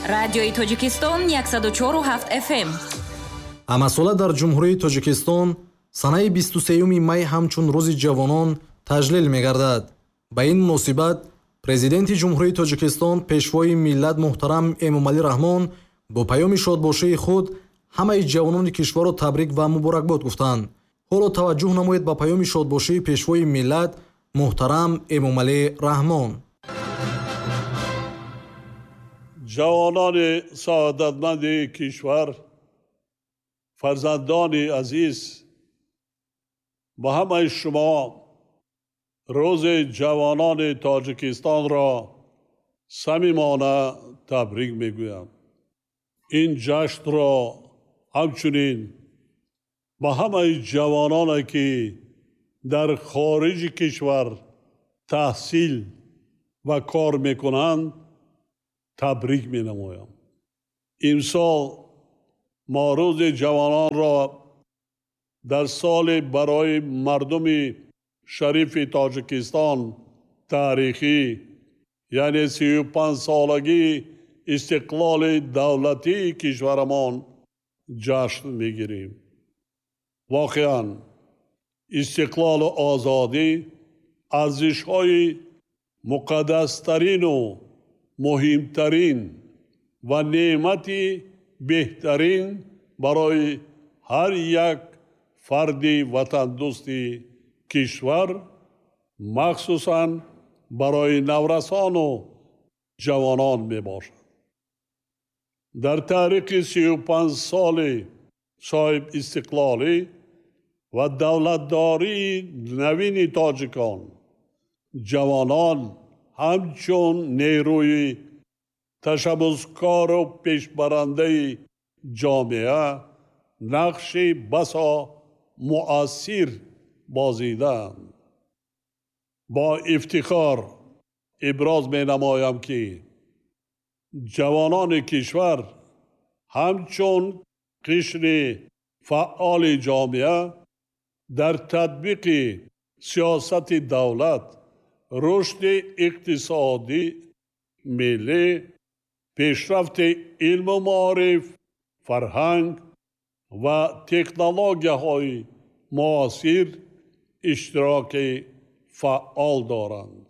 Радиои Тоҷикистон 104,7 FM. Ҳамасола дар Ҷумҳурии Тоҷикистон санаи 23 май ҳамчун Рӯзи ҷавонон таҷлил мегардад. Ба ин муносибат Президенти Ҷумҳурии Тоҷикистон, Пешвои миллат муҳтарам Эмомалӣ Раҳмон бо паёми шодбошии худ ҳамаи ҷавонони кишварро табрик ва муборакбод гуфтанд. Ҳоло таваҷҷӯҳ намоед ба паёми шодбошии Пешвои миллат муҳтарам Эмомалӣ Раҳмон. Ҷавонони саодатманди кишвар, фарзандони азиз, ба ҳамаи шумо Рӯзи ҷавонони Тоҷикистонро самимона табрик мегӯям. Ин ҷашнро ҳамчунин ба ҳамаи ҷавононе, ки дар хориҷи кишвар таҳсил ва кор мекунанд, табрик менамоям. Имсол мо Рӯзи ҷавононро дар соли барои мардуми шарифи Тоҷикистон таърихӣ, яъне 35-солагии истиқлоли давлатии кишварамон ҷашн мегирем. Воқеан, истиқлолу озодӣ арзишҳои муқаддастарину муҳимтарин ва неъмати беҳтарин барои ҳар як фарди ватандӯсти кишвар, махсусан барои наврасону ҷавонон мебошад. Дар таърихи 35 соли соҳибистиқлолӣ ва давлатдории навини тоҷикон, ҷавонон ҳамчун нерӯи ташаббускору пешбарандаи ҷомеа нақши басо муассир бозидаанд. Бо ифтихор иброз менамоям, ки ҷавонони кишвар ҳамчун қишри фаъоли ҷомеа дар татбиқи сиёсати давлат, рушди иқтисодӣ миллӣ, пешрафти илму маориф, фарҳанг ва технологияҳои муосир иштироки фаъол доранд.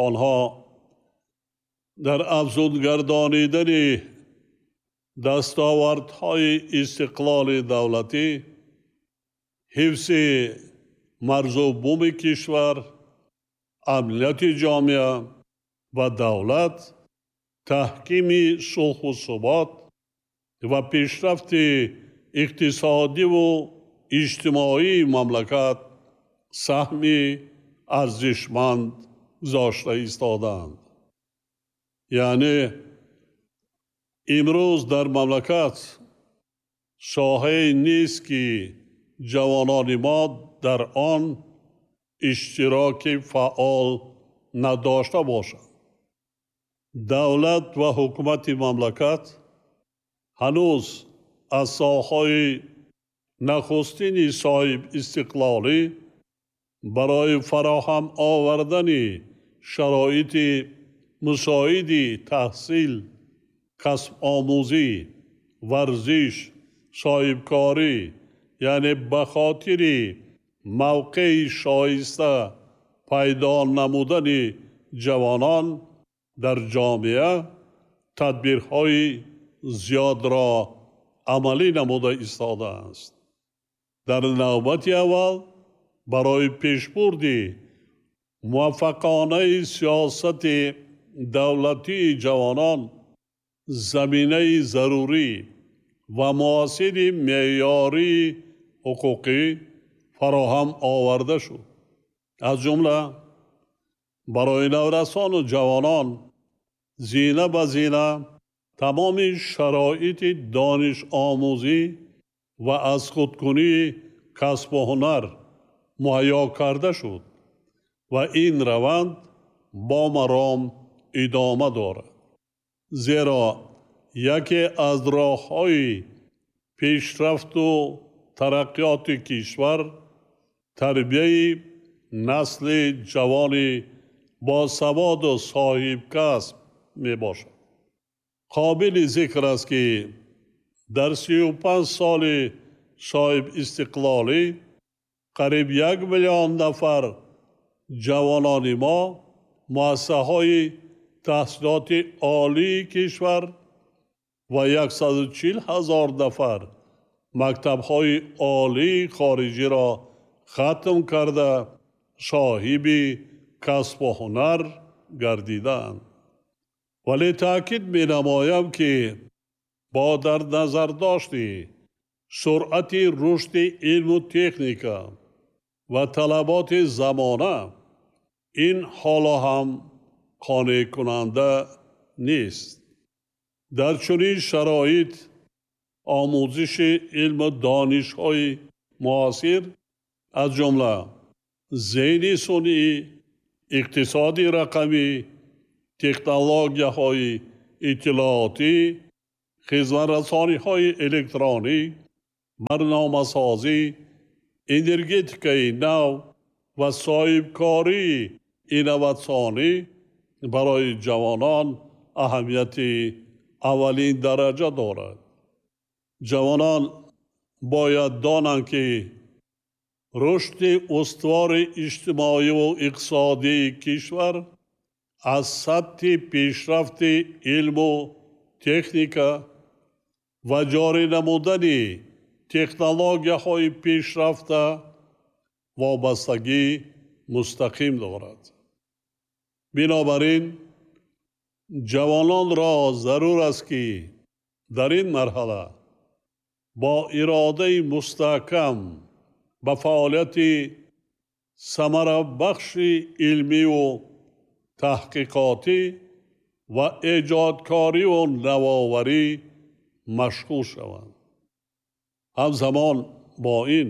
Онҳо дар афзунгардонидани дастовардҳои истиқлоли давлатӣ, ҳифзи марзу буми кишвар, амнияти ҷомеа ва давлат, таҳкими сулҳу субот ва пешрафти иқтисодиву иҷтимоии мамлакат саҳми арзишманд гузошта истодаанд. Яъне имрӯз дар мамлакат соҳае нест, ки ҷавонони мо дар он иштироки фаъол надошта бошанд. Давлат ва ҳукумати мамлакат ҳанӯз аз солҳои нахустини соҳибистиқлолӣ барои фароҳам овардани шароити мусоиди таҳсил, касбомӯзӣ, варзиш, соҳибкорӣ, яъне ба хотири мавқеи шоиста пайдо намудани ҷавонон дар ҷомеа тадбирҳои зиёдро амалӣ намуда истодааст. Дар навбати аввал барои пешбурди муваффақонаи сиёсати давлатии ҷавонон заминаи зарурӣ ва муосири меъёрии ҳуқуқӣ фароҳам оварда шуд. Аз ҷумла барои наврасону ҷавонон зина ба зина тамоми шароити донишомӯзӣ ва аз худкунии касбу ҳунар муҳайё карда шуд ва ин раванд бо маром идома дорад. Зеро яке аз роҳҳои пешрафту тараққиёти кишвар тарбияи насли ҷавони босаводу соҳибкасб мебошад. Қобили зикр аст, ки дар 35 соли соҳибистиқлолӣ қариб 1 миллион нафар ҷавонони мо муассисаҳои таҳсилоти олии кишвар ва 140 ҳазор нафар мактабҳои олии хориҷиро хатм карда соҳиби касбу ҳунар гардидаанд. Вале таъкид менамоям, ки бо дар назардошти суръати рушди илму техника ва талаботи замона ин ҳоло ҳам қонеъкунанда нест. Дар чунин шароит омӯзиши илму донишҳои муосир, аз ҷумла зеҳни сунъӣ, иқтисоди рақамӣ, технологияҳои иттилоотӣ, хизматрасониҳои электронӣ, барномасозӣ, энергетикаи нав ва соҳибкории инноватсионӣ барои ҷавонон аҳамияти аввалин дараҷа дорад. Ҷавонон бояд донанд, ки рушди устувори иҷтимоиву иқтисодии кишвар аз сатҳи пешрафти илму техника ва ҷорӣ намудани технологияҳои пешрафта вобастагӣ мустақим дорад. Бинобар ин ҷавононро зарур аст, ки дар ин марҳала бо иродаи мустаҳкам ба фаъолияти самарабахши илмиву таҳқиқотӣ ва эҷодкориву навоварӣ машғул шаванд. Ҳамзамон бо ин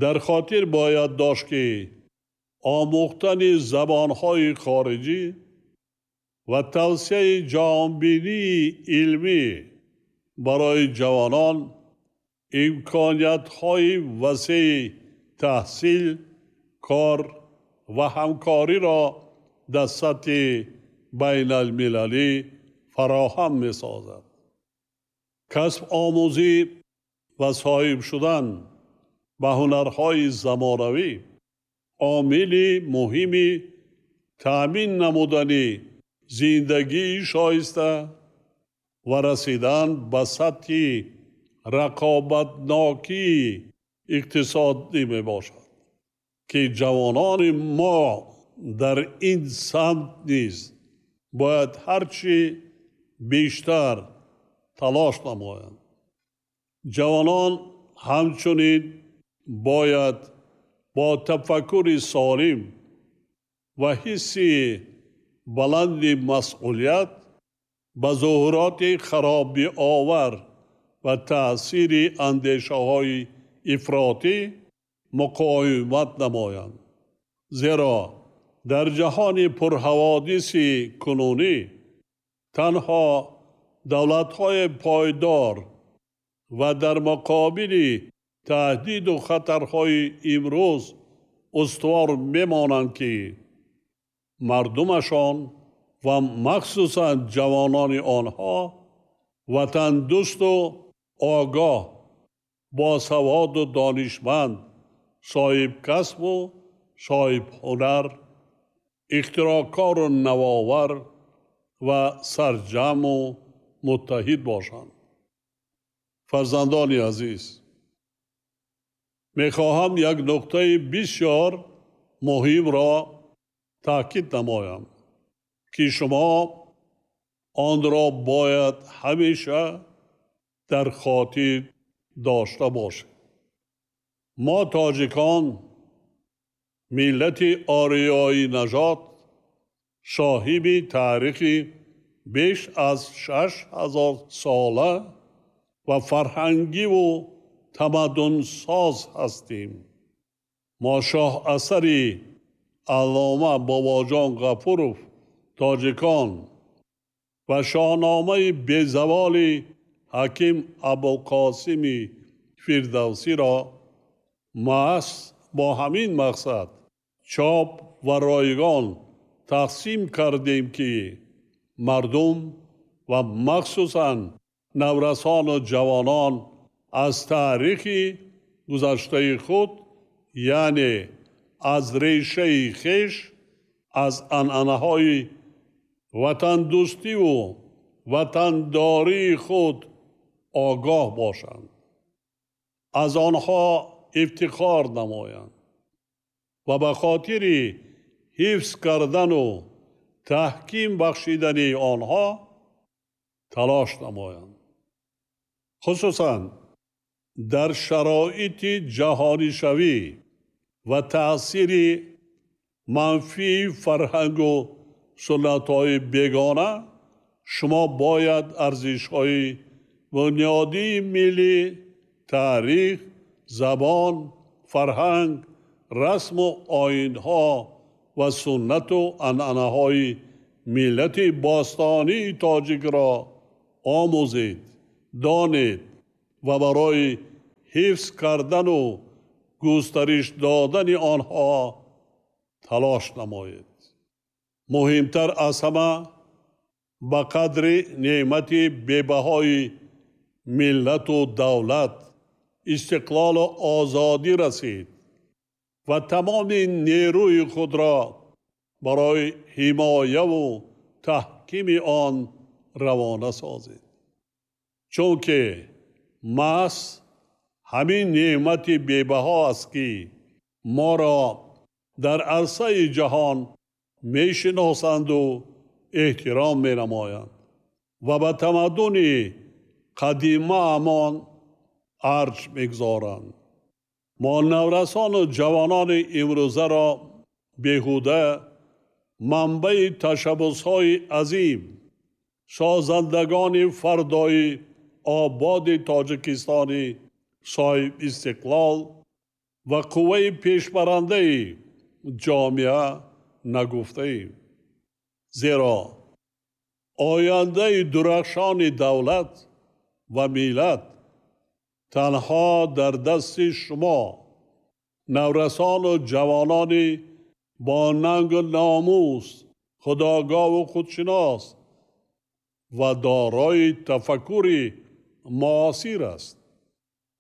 дар хотир бояд дошт, ки омӯхтани забонҳои хориҷӣ ва тавсияи ҷаҳонбинии илмӣ барои ҷавонон имкониятҳои васеи таҳсил, кор ва ҳамкориро дар сатҳи байналмилалӣ фароҳам месозад. Касб омӯзӣ ва соҳиб шудан ба ҳунарҳои замонавӣ омили муҳими таъмин намудани зиндагии шоиста ва расидан ба сатҳи рақобатнокии иқтисодӣ мебошад, ки ҷавонони мо дар ин самт низ бояд ҳарчи бештар талош намоянд. Ҷавонон ҳамчунин бояд бо тафаккури солим ва ҳисси баланди масъулият ба зуҳуроти харобиовар ва таъсири андешаҳои ифротӣ муқовимат намоянд. Зеро дар ҷаҳони пурҳаводиси кунунӣ танҳо давлатҳои пойдор ва дар муқобили таҳдиду хатарҳои имрӯз устувор мемонанд, ки мардумашон ва махсусан ҷавонони онҳо ватандӯсту огоҳ, босаводу донишманд, соҳибкасбу соҳибҳунар, ихтироъкору навовар ва сарҷамъу муттаҳид бошанд. Фарзандони азиз, мехоҳам як нуқтаи бисёр муҳимро таъкид намоям, ки шумо онро бояд ҳамеша дар хотир дошта бошед. Мо тоҷикон, миллати ориёӣ нажод, соҳиби таърихи беш аз 6000 сола ва фарҳангиву тамаддунсоз ҳастем. Мо шоҳасари аллома Бобоҷон Ғафуров «Тоҷикон» ва шоҳномаи безаволи ҳаким Абулқосими Фирдавсиро маҳз бо ҳамин мақсад чоп ва ройгон тақсим кардем, ки мардум ва махсусан наврасону ҷавонон аз таърихи гузаштаи худ, яъне аз решаи хеш, аз анъанаҳои ватандӯстиву ватандории худ огоҳ бошанд, аз онҳо ифтихор намоянд ва ба хотири ҳифз кардану таҳким бахшидани онҳо талош намоянд. Хусусан дар шароити ҷаҳонишавӣ ва таъсири манфии фарҳангу суннатҳои бегона шумо бояд арзишҳои бунёдии миллӣ, таърих, забон, фарҳанг, расму оинҳо ва суннату анъанаҳои миллати бостонии тоҷикро омӯзед, донед ва барои ҳифз кардану густариш додани онҳо талош намоед. Муҳимтар аз ҳама, ба қадри неъмати бебаҳои миллату давлат, истиқлолу озодӣ расид ва тамоми нерӯи худро барои ҳимояву таҳкими он равона созед. Чунки маҳз ҳамин неъмати бебаҳо аст, ки моро дар арсаи ҷаҳон мешиносанду эҳтиром менамоянд ва ба тамаддуни қадимаамон арҷ мегузоранд. Мо наврасону ҷавонони имрӯзаро беҳуда манбаи ташаббусҳои азим, созандагони фардои ободи Тоҷикистони соҳибистиқлол ва қувваи пешбарандаи ҷомеа нагуфтаем. Зеро ояндаи дурахшони давлат ва миллат танҳо дар дасти шумо, наврасону ҷавонони бо нангу номус, худогоҳу худшинос ва дорои тафаккури муосир аст.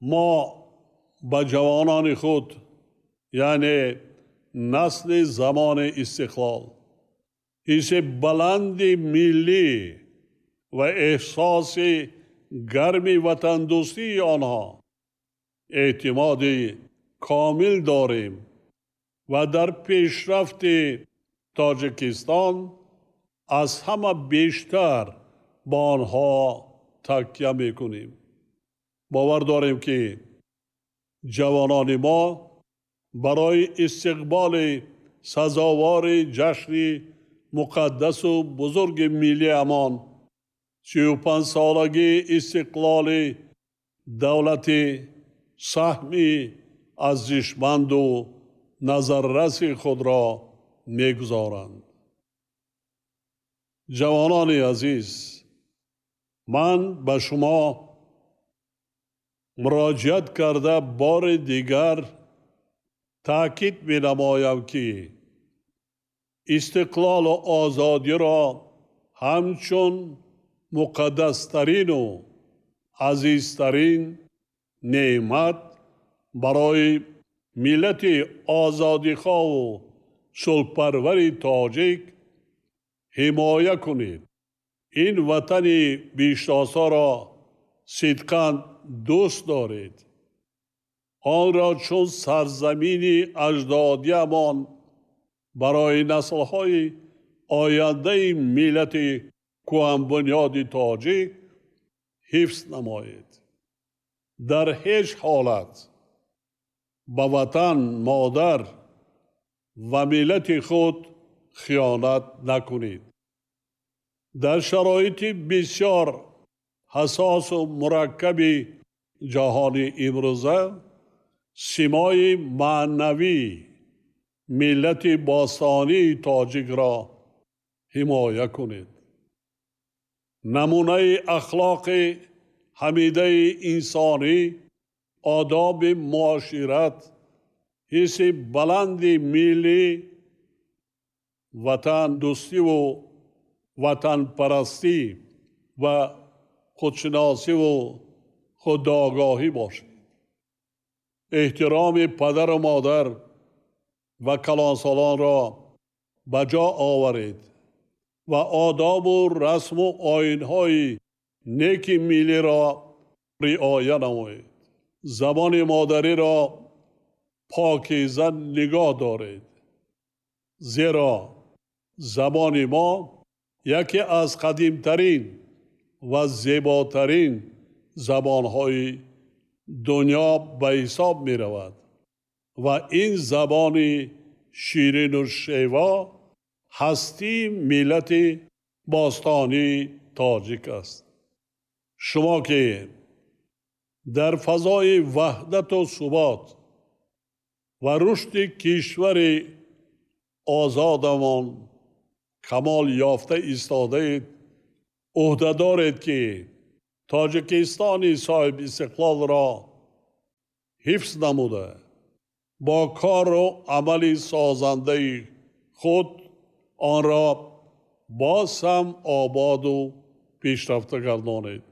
Мо ба ҷавонони худ, яъне насли замони истиқлол, ҳисси баланди миллӣ ва эҳсоси гарми ватандӯстии онҳо эътимоди комил дорем ва дар пешрафти Тоҷикистон аз ҳама бештар ба онҳо такя мекунем. Бовар дорем, ки ҷавонони мо барои истиқболи сазовори ҷашни муқаддасу бузурги миллиамон, 35-солагии истиқлоли давлати, саҳми арзишманду назарраси худро мегузоранд. Ҷавонони азиз, ман ба шумо муроҷиат карда бори дигар таъкид менамоям, ки истиқлолу озодиро ҳамчун муқаддастарину азизтарин неъмат барои миллати озодихоҳу сулҳпарвари тоҷик ҳимоя кунед. Ин ватани биҳиштосоро сидқан дӯст доред. Онро чун сарзамини аҷдодиамон барои наслҳои ояндаи миллати кӯҳанбунёди тоҷик ҳифз намоед. Дар ҳеҷ ҳолат ба ватан, модар ва миллати худ хиёнат накунед. Дар шароити бисёр ҳассосу мураккаби ҷаҳони имрӯза симои маънавии миллати бостонии тоҷикро ҳимоя кунед. Намунаи ахлоқи ҳамидаи инсонӣ, одоби муошират, ҳисси баланди миллӣ, ватандӯстиву ватанпарастӣ ва худшиносиву худогоҳӣ бошед. Эҳтироми падару модар ва калонсолонро ба ҷо оваред ва одобу расму оинҳои неки миллиро риоя намоед. Забони модариро покиза нигоҳ доред, зеро забони мо яке аз қадимтарин ва зеботарин забонҳои дунё ба ҳисоб меравад ва ин забони ширину шево ҳастии миллати бостонии тоҷик аст. Шумо ки дар фазои ваҳдату субот ва рушди кишвари озодамон камол ёфта истодаед, ӯҳда доред ки Тоҷикистони соҳибистиқлолро ҳифз намуда, бо кору амали созандаи худ онро боз ҳам ободу пешрафта гардонед.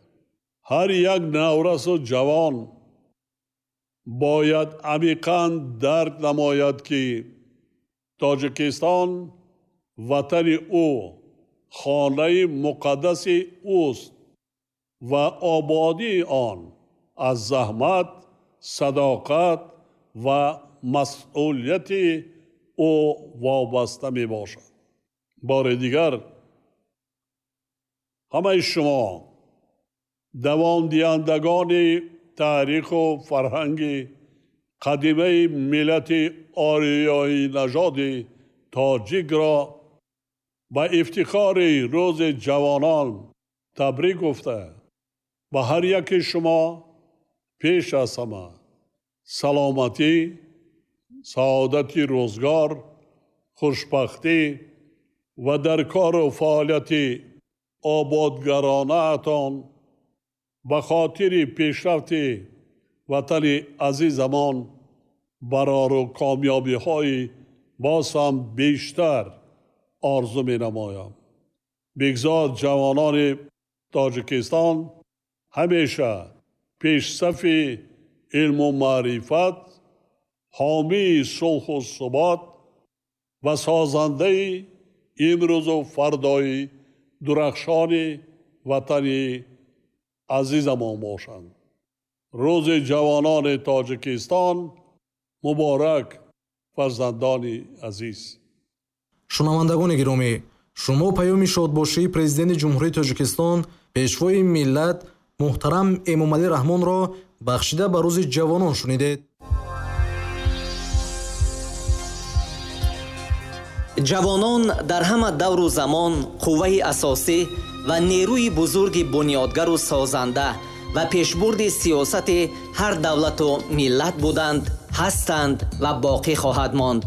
Ҳар як наврасу ҷавон бояд амиқан дарк намояд, ки Тоҷикистон ватани ӯ, хонаи муқаддаси ӯст ва ободии он аз заҳмат, садоқат ва масъулияти ӯ вобаста мебошад. Бори дигар ҳамаи шумо давомдиҳандагони таъриху фарҳанги қадимаи миллати ориёинажоди тоҷикро ба ифтихори рӯзи ҷавонон табрик гуфта, ба ҳар яки шумо пеш аз ҳама саломатӣ, саодати рӯзгор, хушбахтӣ ва дар кору фаъолияти ободгаронаатон ба хотири пешрафти ватани азизамон барору комёбиҳои боз ҳам бештар орзу менамоям. Бигзор ҷавонони Тоҷикистон ҳамеша пешсафи илму маърифат, ҳомии сулҳу субот ва созандаи имрӯзу фардои дурахшони ватани азизамон бошанд. Рӯзи ҷавонони Тоҷикистон муборак, фарзандони азиз. Шунавандагони гиромӣ, шумо паёми шодбошии Президенти Ҷумҳурии Тоҷикистон, Пешвои миллат муҳтарам Эмомалӣ Раҳмонро бахшида ба рӯзи ҷавонон шунидед. Ҷавонон дар ҳама давру замон қувваи асосӣ ва нерӯи бузурги бунёдгару созанда ва пешбурди сиёсати ҳар давлату миллат буданд, ҳастанд ва боқӣ хоҳад монд.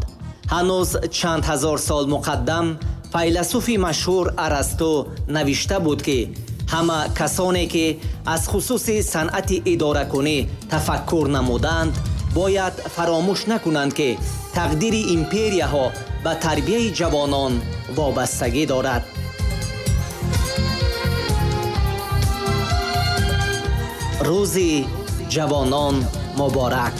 Ҳанӯз чанд ҳазор сол муқаддам файласуфи машҳур Арасту навишта буд, ки ҳама касоне ки аз хусуси санъати идоракунӣ тафаккур намуданд, бояд фаромӯш накунанд, ки тақдири империяҳо ба тарбияи ҷавонон вобастагӣ дорад. Рӯзи ҷавонон муборак!